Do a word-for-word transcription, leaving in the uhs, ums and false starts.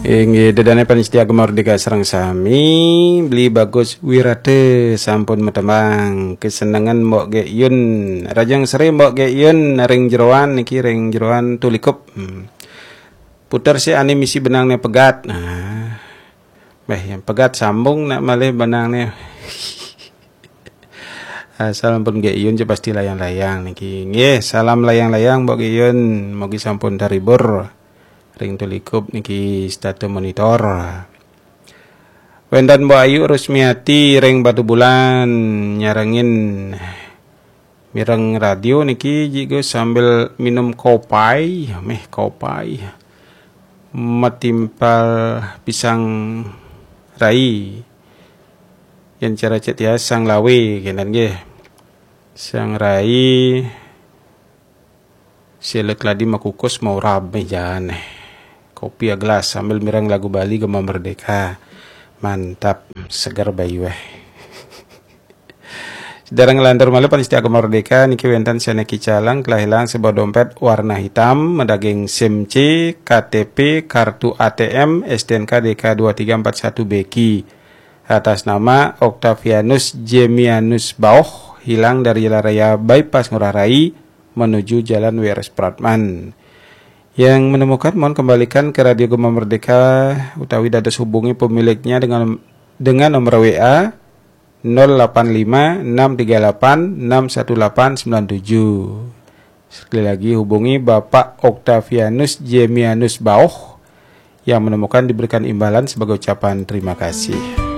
Inggih, ida dané pamiarsa Gema Merdeka sareng sami, Beli Bagus Wirata sampun matembang. Kesenengan Mbok Gek Yun, Rajang Sri Mbok Gek Yun, ring jeroan niki, ring jeroan Tulikup. Hmm. Puter sih ané misi benangné pegat. Nah. Béh, yang pegat sambung nak malih benangné. Asal ampun Gek Yun, pasti layang-layang niki. Nggih, salam layang-layang Mbok Gek Yun. Mugi sampun terhibur. Ring Tulikup niki setata monitor. Wénten Mbok Ayu Rusmiati ring Batubulan nyarengin mireng radio niki jigo sambil minum kopai, méh kopai. Matimpal pisang rai. Yén cara cék tiang sang lawe kénten nggih. Sang rai, sila keladi makukus maurab méh jaan. Kopi agelas sambil mireng lagu Bali Gema Merdeka. Mantap, seger bayu éh. Sedurung nglantur malih pamiarsa Gema Merdeka niki wénten sané kicalang kelah ilang sebuah dompet warna hitam, madaging SIM C, K T P, kartu A T M, S T N K D K dua tiga empat satu B Q. Atas nama Octavianus Jemianus Bauh, hilang dari Jalan Raya Bypass Ngurah Rai menuju Jalan W R Supratman. Yang menemukan mohon kembalikan ke Radio Gema Merdeka utawi dados hubungi pemiliknya dengan dengan nomor W A nol delapan lima enam tiga delapan enam satu delapan sembilan tujuh. Sekali lagi, hubungi Bapak Octavianus Jemianus Bauh. Yang menemukan diberikan imbalan sebagai ucapan terima kasih.